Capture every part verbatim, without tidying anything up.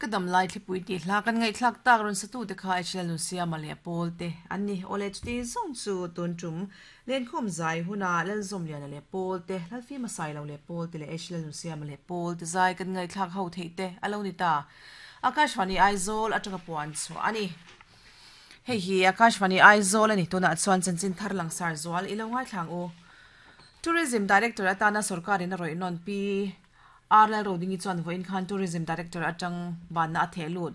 Ka dam lai thlipui tih hla kan ngaihthlak tak rawn satu te kha H L Nunsiama leh Pawl te an ni. Awle, chuti zawng chu tun tum Lenkhawm zai huna Lalzawmliana leh Pawl te, Lalfima Sailo leh Pawl te leh H L Nunsiama leh Pawl te zai kan ngaihthlak ho theih te alo ni ta. Akashvani Aizawl atanga puan chu ani. Hei hi Akashvani Aizawl ani. Tunah chuan chanchin thar langsar zual ilo ngaithlang u. Tourism Director atana sarkarin a rawih nawn Pi R Lalrodingi chuan vawiin khan Tourism Director atang banna a theh lut.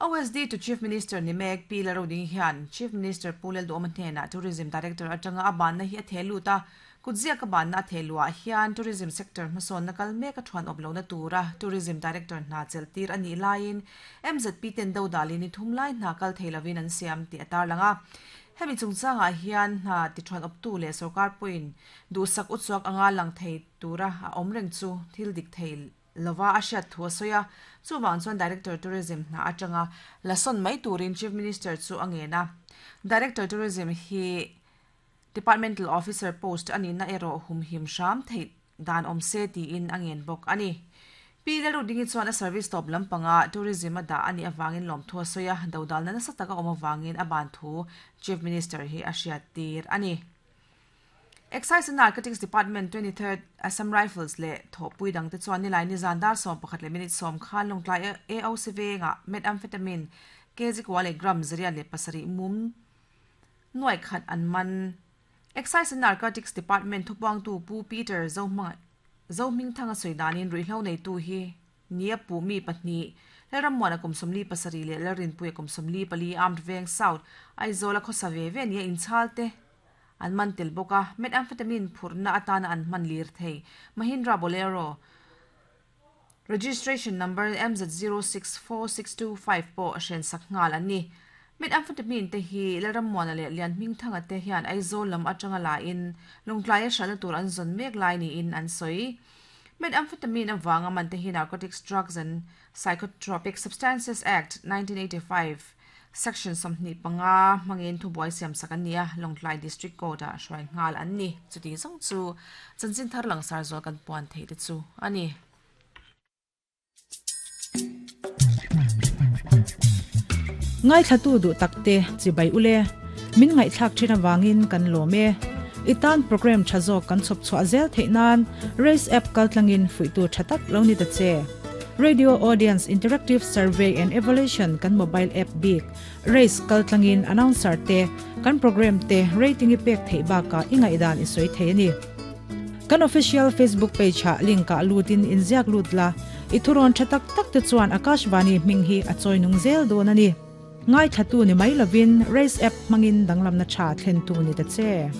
O S D to Chief Minister ni mek Pi Lalrodingi hian Chief Minister Pu Lalduhoma hnenah Tourism Director atanga a banna hi a theh lut a. Kutzia ka banna a theh luah hian tourism sector hmasawn na kal mek a thuan awp lo na tura Tourism Director hna chel tir ani laiin M Z P ten do dalin ni thum lai hna kal theilovin an siam ti atar langa. Hemi chungchangah hian hna ti thuan awp tu leh sarkar pawhin duhsak uchuak anga lang thei tura a awm reng chu thil dik thei lova a hriat thu a sawi a. Chuwang chuan Director Tourism hna atanga lason mai turin Chief Minister chu a ngen a. Director Tourism hi departmental officer post ani na ero humhim hram thei dan awm se tiin a ngen bawk ani. Pi Lalrodingi chuan a service top lampanga tourism a dah ani awangin lawm thu a sawi a. Dodal na nasa taka awm awangin a ban thu Chief Minister hi a hriat tir ani. Excise and Narcotics Department, twenty-third Assam Rifles le thopui dang te chuan nilai ni zan dar som pakhat le minute som khan Lawngtlai A O C venga methamphetamine kg kwa le gram zaria le pasari mum nuai khat an man. Excise and Narcotics Department thupang tu Pu Peter Zohma Zohming thanga soidanin ruihhlo nei tu hi nia pu mi pahnih Lalrammuana kum sawmli pasarih leh Lalrinpuia kum sawmli pali, Armed Veng South, Aizawl a khawsa ve ve nia inchhal te an man tel bawk a. Methamphetamine phurhna atana an hman lir thei Mahindra Bolero registration number M Z zero six four six two five pawh hren sak nghal an ni. Methamphetamine te hi Lalrammuana leh Lianhming thanga te hian Aizawl lam atanga la in Lawngtlai a hralhna tur an zawn mek lai niin an sawi. Methamphetamine awanga man te hi Narcotics Drugs and Psychotropic Substances Act nineteen eighty-five section sawmhnih panga hmangin thubuai siam sak an ni a. Lawngtlai District Court ah hruai nghal an ni. Chuti zawng chu chanchin thar langsar zual kan puan thei te chu ani. Ngai thlatu du takte chibai ule. Min ngai thlak thina wangin kan lome. Itan program thazo kan chop chwa zel theinan Race app kaltlangin fuitu thatak lo ni ta che. Radio Audience Interactive Survey and Evaluation kan mobile app big Race kaltlangin announcer te kan program te rating i pek thei ba ka ingai dan i soi thei ni. Kan official Facebook page ha link ka lutin inziak lut la. Ithuron thatak tak te chuan Akashvani hming hi a choinung zel don ani. Ngai thatu ni mai lovin Race app mangin danglam na tha thlen tu ni ta che.